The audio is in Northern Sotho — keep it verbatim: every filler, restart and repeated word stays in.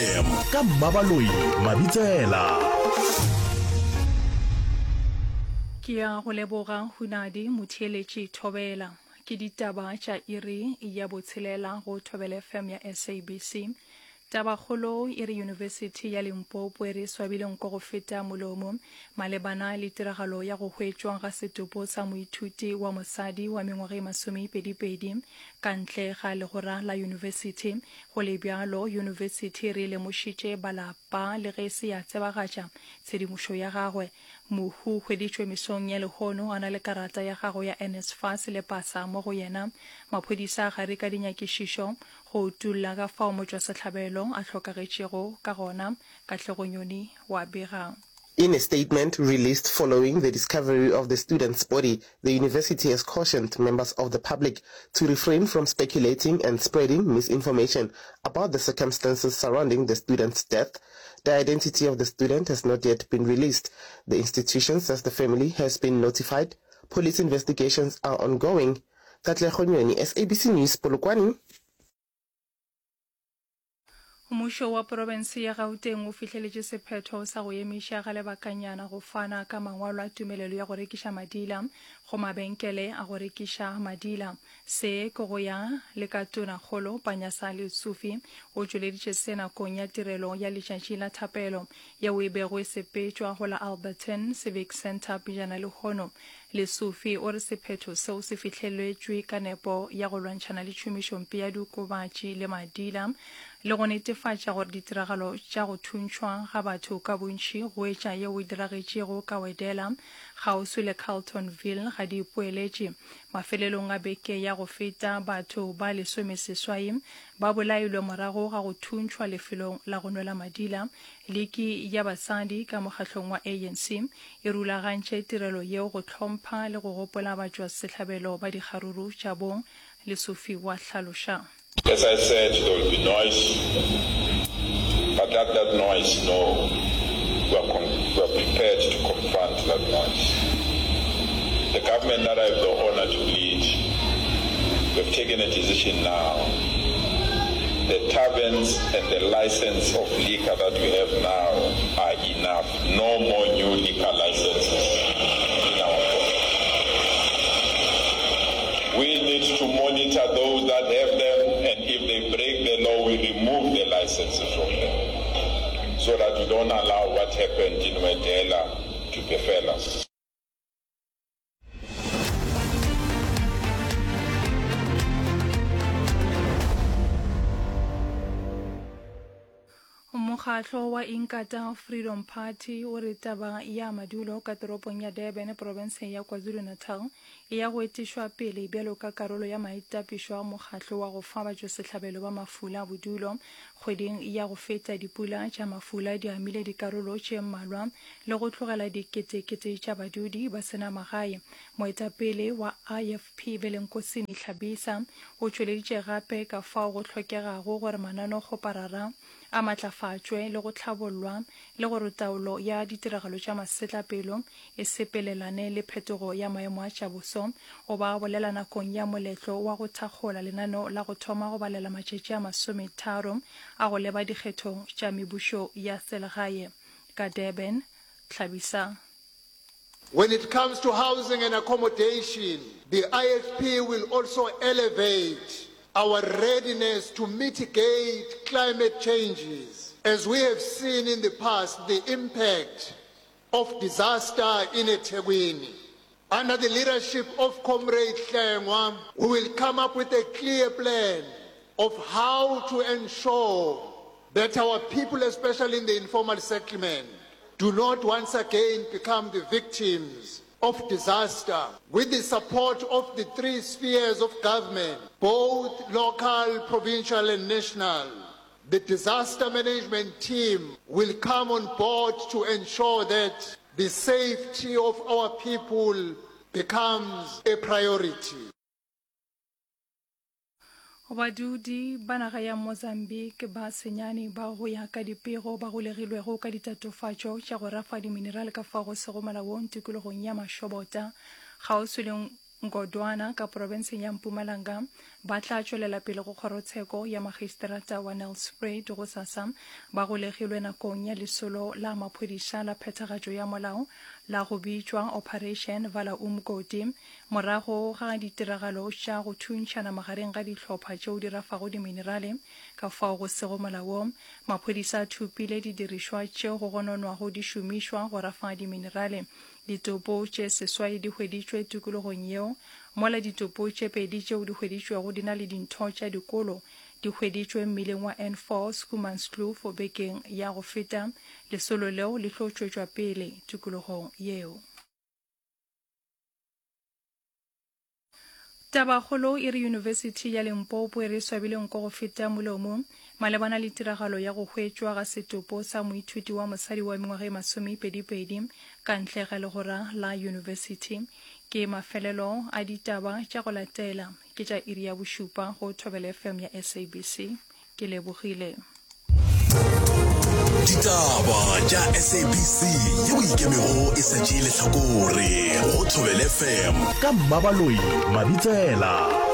F M ka Mmabaloi Mabitsela. Ke ya go leboga Hunadi Motheeletši Thobela. Ke ditaba tša iri ya botshelela go Thobela F M ya S A B C. Tabakgolo e re Yunibesithi ya Limpopo e re swabile nko go feta molomo malebana le tiragalo ya go hwetšwa ga setopo sa moithuti wa mosadi wa mengwaga e masomepedipedi ka ntle ga legora la yunibesithi. Go le bjalo, yunibesithi e re lemošitše balapa le ge e se ya tsebagatša tshedimošo ya gagwe. Mohu o hweditšwe mesong ya lehono a na le karata ya gagwe ya NSFAS le pasa mo go yena. Maphodisa a gare ka dinyakišišo go utolla ka fao motšwasehlabelo a hlokagetšego ka gona. Katlego Nyoni wa bega. In a statement released following the discovery of the student's body, the university has cautioned members of the public to refrain from speculating and spreading misinformation about the circumstances surrounding the student's death. The identity of the student has not yet been released. The institution says the family has been notified. Police investigations are ongoing. Katlego Nyoni, S A B C News, Polokwane. Mmušo wa profense ya Gauteng o fihleletše sephetho sa go emiša ga lebakanyana go fana ka mangwalo a tumelelo ya go rekiša madila go mabenkele a go rekiša madila. Se ke go ya le ka Tonakgolo Panyaza Lesufi o tšweleditše se nakong ya tirelo ya letšatši la thapelo yeo e bego e sepetšwa go la Alberton Civic Centre pejana lehono. Lesufi o re sephetho seo se fihleletšwe ka nepo ya go lwantšhana le tšhomišompe ya diokobatši le madila le go netefatša gore ditiragalo tša go thuntšhwa ga batho ka bontši go etša yeo e diragetšego ka Wedela kgauswi le Carltonville ga di ipoeletše. Mafelelong a beke ya go feta batho ba lesomeseswai ba bolailwe morago ga go thuntšhwa lefelong la go nwela madila. Liki ya basadi ka mokgahlong wa A N C e rulagantše tirelo yeo go hlompha le go gopola batšwasehlabelo ba dikgaruru tša bong, Lesufi wa hlaloša. As I said, there will be noise, but let that noise know we are, con- we are prepared to confront that noise. The government that I have the honor to lead, we have taken a decision now. The taverns and the license of liquor that we have now are enough. No more new liquor licenses in our province. We need to monitor those that have them, and if they break the law, we remove the licenses from them so that we don't allow what happened in Wedela to befell us. Mokgatlo wa Inkatha Freedom Party o re taba ya madulo ka toropong ya Durban profenseng ya KwaZulu-Natal e ya go etišwa pele bjalo ka karolo ya maitapišo a mokgatlo wa go fa batšwasehlabelo ba mafula bodulo. Kgweding ya go feta dipula tša mafula di amile dikarolo tše mmalwa le go tlogela diketekete tša badudi ba se na magae. Moetapele wa I F P Velenkosini Hlabisa o tšweleditše gape ka fao go hlokegago gore mananokgoparara a matlafatšwe le go hlabollwa le gore taolo ya ditiragalo tša masetlapelo e sepelelane le phetogo ya maemo a tša boso. O ba bolela nakong ya moletlo wa go thakgola lenaneo la go thoma go balela matšatši a masometharo a go leba dikgethong tša mebušo ya selegae ka Durban. Hlabisa. When it comes to housing and accommodation, the I F P will also elevate our readiness to mitigate climate changes, as we have seen in the past the impact of disaster in eThekwini. Under the leadership of Comrade Hlengwa, we will come up with a clear plan of how to ensure that our people, especially in the informal settlement, do not once again become the victims of disaster. With the support of the three spheres of government, both local, provincial and national, the disaster management team will come on board to ensure that the safety of our people becomes a priority. Badudi ba naga ya Mozambique ba senyane ba go ya ka dipego ba golegilwego ka ditatofatšo tša go rafa diminerale ka fao go sego molaong tikologong ya Mashobota kgauswi le Ngodwana ka profenseng ya Mpumalanga ba tla tšwelela pele go kgorotsheko ya magistrata wa Nelspruit gosasa. Ba golegilwe nakong ya lesolo la maphodisa la phethagatšo ya molao la go bitšwa Operation Vala Umgodi morago ga ditiragalo tša go thuntšhana magareng ga dihlopha tšeo di rafago diminerale ka fao go sego molaong. Maphodisa a thopile didirišwa tšeo go gononwago di šomišwa go rafa diminerale. Ditopo tše seswai di hweditšwe tikologong yeo, mola ditopo tše pedi tšeo di hweditšwego di na le dintho tša dikolo di hweditšwe mmileng wa N four Schoemanskloof bekeng ya go feta. Lesolo leo le tlo tšwetšwa pele tikologong yeo. Tabakgolo e re Yunibesithi ya Limpopo e re swabile nko go feta molomo malebana le tiragalo ya go hwetšwa ga setopo sa moithuti wa mosadi wa mengwaga e masomepedipedi ka ntle ga legora la yunibesithi. Ke mafelelo a ditaba tša go latela ke tša iri ya bošupa go Thobela F M ya S A B C. Ke lebogile. Ditaba tša S A B C yeo ikemego e sa tšee lehlakore go Thobela F M ka Mmabaloi Mabitsela.